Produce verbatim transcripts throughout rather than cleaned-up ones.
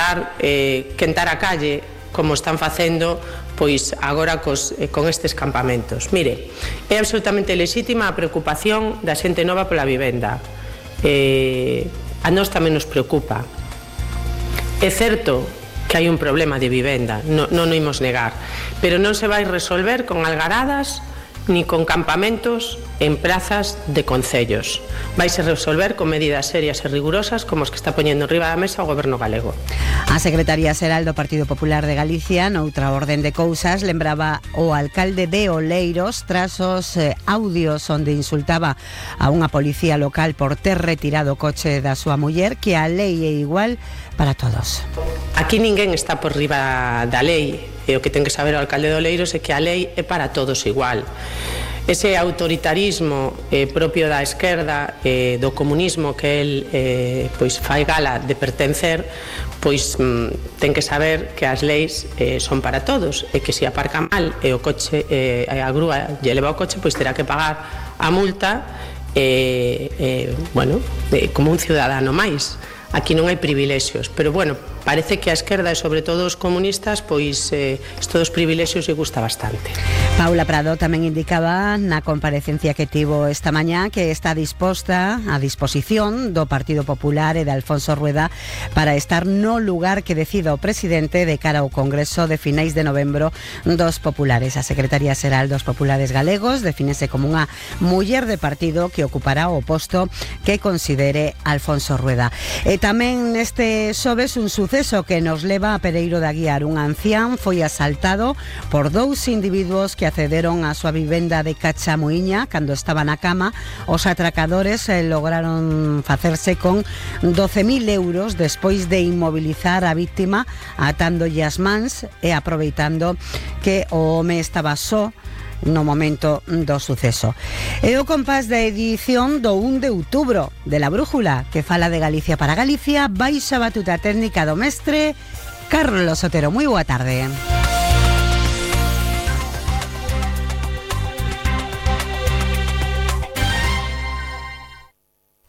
intentar eh, quentar a calle, como están facendo pois agora cos, eh, con estes campamentos. Mire, é absolutamente lexítima a preocupación da xente nova pola vivenda. Eh, a nós tamén nos preocupa. É certo que hai un problema de vivenda, non, non o imos negar, pero non se vai resolver con algaradas ni con campamentos en plazas de concellos. Vaise resolver con medidas serias e rigurosas como os que está poñendo enriba da mesa o Goberno galego. A Secretaría Xeral do Partido Popular de Galicia, noutra orden de cousas, lembraba o alcalde de Oleiros tras os eh, audios onde insultaba a unha policía local por ter retirado o coche da súa muller, que a lei é igual para todos. Aquí ninguén está por riba da lei, e o que ten que saber o alcalde de Oleiros é que a lei é para todos igual. Ese autoritarismo eh, propio da esquerda, eh, do comunismo que el eh, pois fai gala de pertencer, pois mm, ten que saber que as leis eh, son para todos, e que se aparca mal e o coche, eh, a grúa lle leva o coche, pois terá que pagar a multa eh, eh, bueno, eh, como un ciudadano máis. Aquí non hai privilexios, pero bueno, parece que a esquerda e sobre todo os comunistas pois eh, isto dos privilexios lle gusta bastante. Paula Prado tamén indicaba na comparecencia que tivo esta mañá que está disposta a disposición do Partido Popular e de Alfonso Rueda para estar no lugar que decida o presidente de cara ao Congreso de finais de novembro dos Populares. A Secretaría Xeral dos Populares Galegos defínese como unha muller de partido que ocupará o posto que considere Alfonso Rueda. E tamén neste xoves un suceso que nos leva a Pereiro de Aguiar. Un ancián foi asaltado por dous individuos que accederon á súa vivenda de Cachamuiña cando estaba na cama. Os atracadores eh, lograron facerse con doce mil euros despois de inmobilizar a víctima atándolle as mans e aproveitando que o home estaba só no momento do suceso. E o compás da edición do un de outubro de La Brújula, que fala de Galicia para Galicia, baixa batuta técnica do mestre Carlos Otero. Moi boa tarde.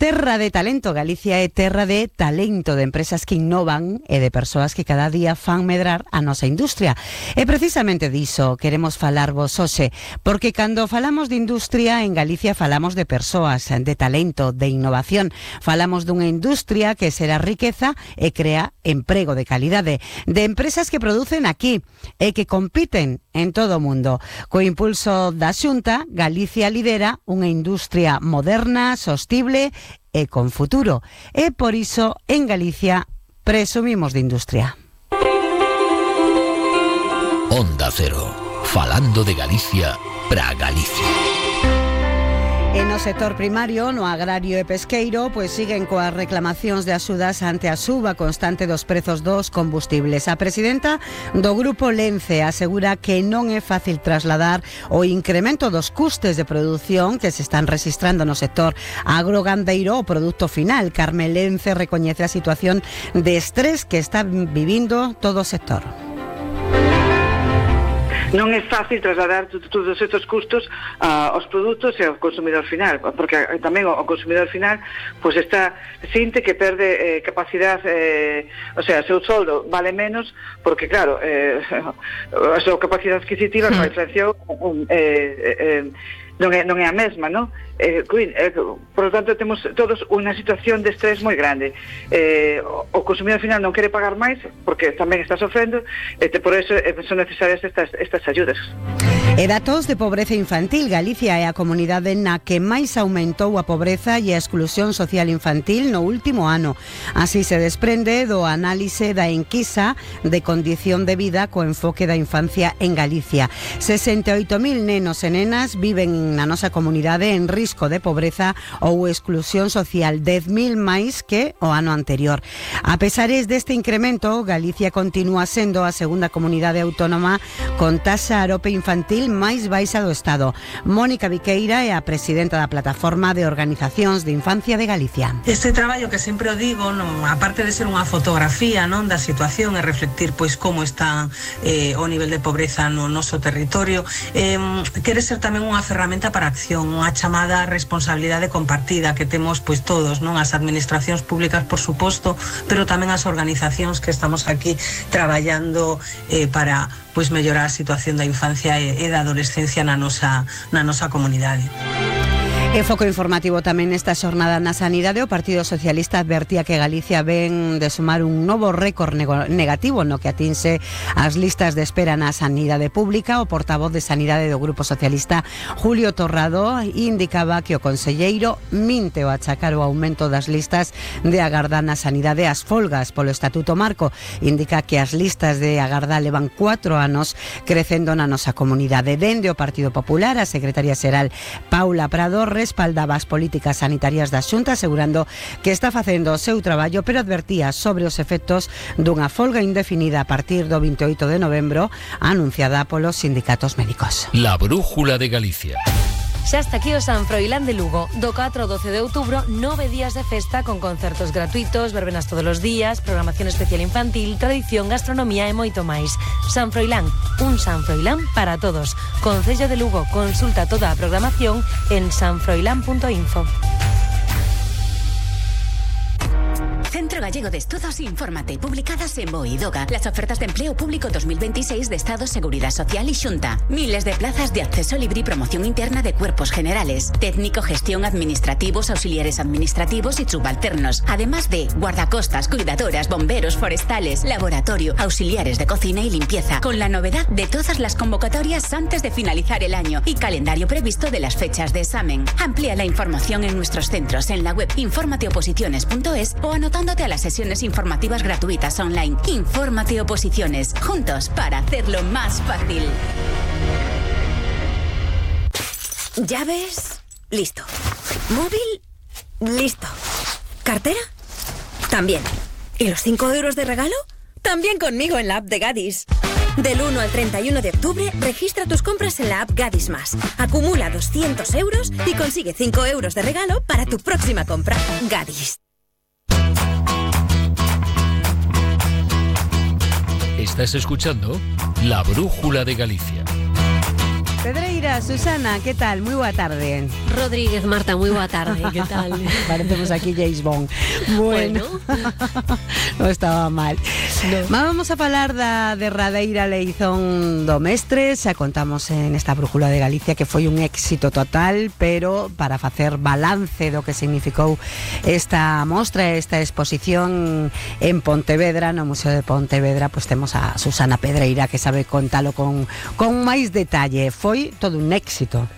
Terra de talento. Galicia é terra de talento, de empresas que innovan e de persoas que cada día fan medrar a nosa industria. E precisamente diso queremos falarvos hoxe, porque cando falamos de industria en Galicia falamos de persoas, de talento, de innovación. Falamos dunha industria que será riqueza e crea emprego de calidade, de empresas que producen aquí e que compiten en todo o mundo. Co impulso da Xunta, Galicia lidera unha industria moderna, sostible e con futuro. E por iso, en Galicia, presumimos de industria. Onda Cero, falando de Galicia pra Galicia. E no sector primario, no agrario e pesqueiro, pois siguen coas reclamacións de axudas ante a suba constante dos prezos dos combustibles. A presidenta do Grupo Lence asegura que non é fácil trasladar o incremento dos custes de produción que se están registrando no sector agrogandeiro ao produto final. Carme Lence recoñece a situación de estrés que está vivindo todo o sector. Non é fácil trasladar todos estes custos uh, aos produtos e ao consumidor final, porque tamén o consumidor final pois está sinte que perde eh, capacidade, eh, o sea, seu soldo vale menos, porque claro, eh, a súa capacidade adquisitiva con a inflación um, eh, eh, non é, non é a mesma, non? Eh, eh, por lo tanto, temos todos unha situación de estrés moi grande. Eh, o consumidor final non quere pagar máis, porque tamén está sofrendo, e eh, por eso eh, son necesarias estas, estas ayudas. E datos de pobreza infantil. Galicia é a comunidade na que máis aumentou a pobreza e a exclusión social infantil no último ano. Así se desprende do análise da enquisa de condición de vida co enfoque da infancia en Galicia. sesenta e oito mil nenos e nenas viven na nosa comunidade en risco de pobreza ou exclusión social, dez mil máis que o ano anterior. A pesares deste incremento, Galicia continúa sendo a segunda comunidade autónoma con taxa arope infantil máis baixa do Estado. Mónica Viqueira é a presidenta da Plataforma de Organizacións de Infancia de Galicia. Este traballo que sempre o digo, non, aparte de ser unha fotografía, non, da situación e reflectir pois como está eh, o nivel de pobreza no noso territorio, eh, quere ser tamén unha ferramenta para a acción, unha chamada responsabilidade compartida que temos pois todos, non, as administracións públicas, por suposto, pero tamén as organizacións que estamos aquí traballando eh, para pois mellorar a situación da infancia e, e da adolescencia na nosa, na nosa comunidade. E foco informativo tamén nesta xornada na sanidade. O Partido Socialista advertía que Galicia ven de sumar un novo récord negativo no que atinse as listas de espera na sanidade pública. O portavoz de Sanidade do Grupo Socialista, Julio Torrado, indicaba que o conselleiro minte o achacar o aumento das listas de agarda na sanidade ás folgas polo Estatuto Marco. Indica que as listas de agarda levan cuatro anos crecendo na nosa comunidade. Dende o Partido Popular, a secretaria xeral Paula Prado respaldaba as políticas sanitarias da Xunta, asegurando que está facendo o seu traballo, pero advertía sobre os efectos dunha folga indefinida a partir do veintioito de novembro, anunciada polos sindicatos médicos. La brújula de Galicia. Xa está aquí o San Froilán de Lugo. Do catro ao doce de outubro, nove días de festa con concertos gratuitos, verbenas todos os días, programación especial infantil, tradición, gastronomía e moito máis. San Froilán, un San Froilán para todos. Concello de Lugo, consulta toda a programación en sanfroilán punto info. Centro Gallego de Estudos, infórmate. Publicadas en Boidoga. Las ofertas de empleo público dos mil veintiséis de Estado, Seguridad Social y Xunta. Miles de plazas de acceso libre y promoción interna de cuerpos generales. Técnico, gestión, administrativos, auxiliares administrativos y subalternos. Además de guardacostas, cuidadoras, bomberos, forestales, laboratorio, auxiliares de cocina y limpieza. Con la novedad de todas las convocatorias antes de finalizar el año y calendario previsto de las fechas de examen. Amplía la información en nuestros centros en la web infórmate oposiciones punto es o anotando a las sesiones informativas gratuitas online. Infórmate Oposiciones, juntos para hacerlo más fácil. Llaves, listo. Móvil, listo. ¿Cartera? También. ¿Y los cinco euros de regalo? También conmigo en la app de Gadis. Del uno al treinta y uno de octubre, registra tus compras en la app Gadis Más. Acumula doscientos euros y consigue cinco euros de regalo para tu próxima compra. Gadis. Estás escuchando La Brújula de Galicia. Pedreira, Susana, ¿qué tal? Muy boa tarde. Rodríguez, Marta, muy boa tarde, ¿qué tal? Parecemos aquí James Bond. Bueno, bueno. No estaba mal. No. Vamos a falar da derradeira eleición do mestre. Xa contamos en esta Brújula de Galicia que foi un éxito total, pero para facer balance do que significou esta mostra, esta exposición en Pontevedra, no Museo de Pontevedra, pues temos a Susana Pedreira que sabe contalo con, con máis detalle. Foi todo un éxito.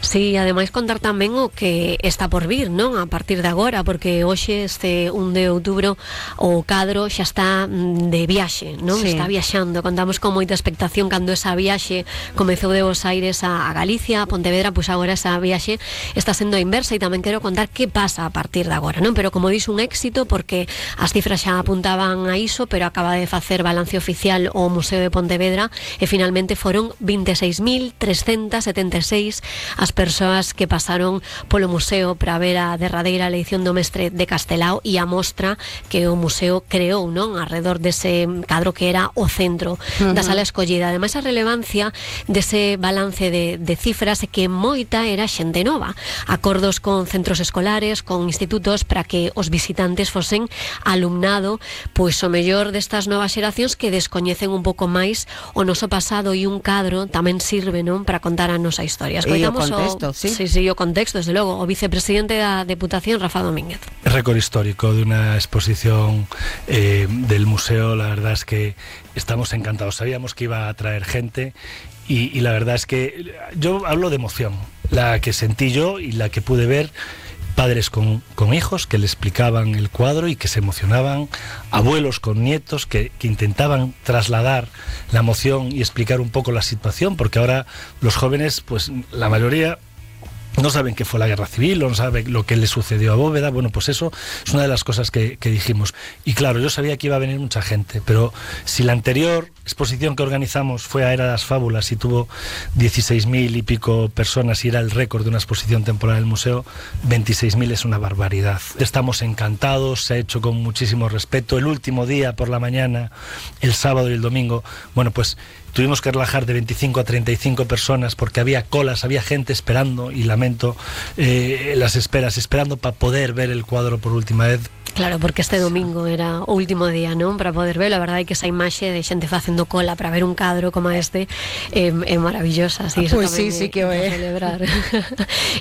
Sí, ademais contar tamén o que está por vir, non? A partir de agora, porque hoxe este un de outubro o cadro xa está de viaxe, non? Sí. Está viaxando, contamos con moita expectación cando esa viaxe comezou de Bos Aires a, a Galicia, a Pontevedra, pois agora esa viaxe está sendo a inversa e tamén quero contar que pasa a partir de agora, non? Pero como dixo, un éxito porque as cifras xa apuntaban a iso, pero acaba de facer balance oficial o Museo de Pontevedra e finalmente foron veintiséis mil trescentas setenta e seis as persoas que pasaron polo museo para ver a derradeira eleición do mestre de Castelao e a mostra que o museo creou, non? Alrededor dese cadro que era o centro uh-huh. da sala escollida. Ademais, a relevancia dese balance de, de cifras é que moita era xente nova. Acordos con centros escolares, con institutos para que os visitantes fosen alumnado, pois o mellor destas novas xeracións que descoñecen un pouco máis o noso pasado, e un cadro tamén sirve, non? Para contar a nosa historia. Escoitamos o Contexto, ¿sí? Sí, sí, o contexto, desde logo, o vicepresidente da Deputación, Rafa Domínguez. Récord histórico de una exposición eh, del museo. La verdad es que estamos encantados. Sabíamos que iba a traer gente y, y la verdad es que yo hablo de emoción, la que sentí yo y la que pude ver. Padres con, con hijos que le explicaban el cuadro y que se emocionaban, abuelos con nietos que, que intentaban trasladar la emoción y explicar un poco la situación, porque ahora los jóvenes, pues la mayoría no saben qué fue la guerra civil, no saben lo que le sucedió a Bóveda. Bueno, pues eso es una de las cosas que, que dijimos. Y claro, yo sabía que iba a venir mucha gente, pero si la anterior exposición que organizamos fue a Era de las Fábulas y tuvo dieciséis mil y pico personas y era el récord de una exposición temporal del museo, veintiséis mil es una barbaridad. Estamos encantados, se ha hecho con muchísimo respeto. El último día por la mañana, el sábado y el domingo, bueno, pues tuvimos que relajar de veinticinco a treinta y cinco personas porque había colas, había gente esperando, y lamento eh, las esperas, esperando para poder ver el cuadro por última vez. Claro, porque este domingo era o último día, non? Para poder ver, a verdade é que esa imaxe de xente facendo cola para ver un cadro como este é, é maravillosa. Así, ah, pois pues sí, sí que o é. Celebrar.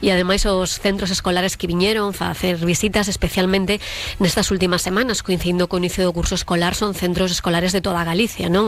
E ademais os centros escolares que viñeron a facer visitas, especialmente nestas últimas semanas, coincidindo co inicio do curso escolar, son centros escolares de toda Galicia, non?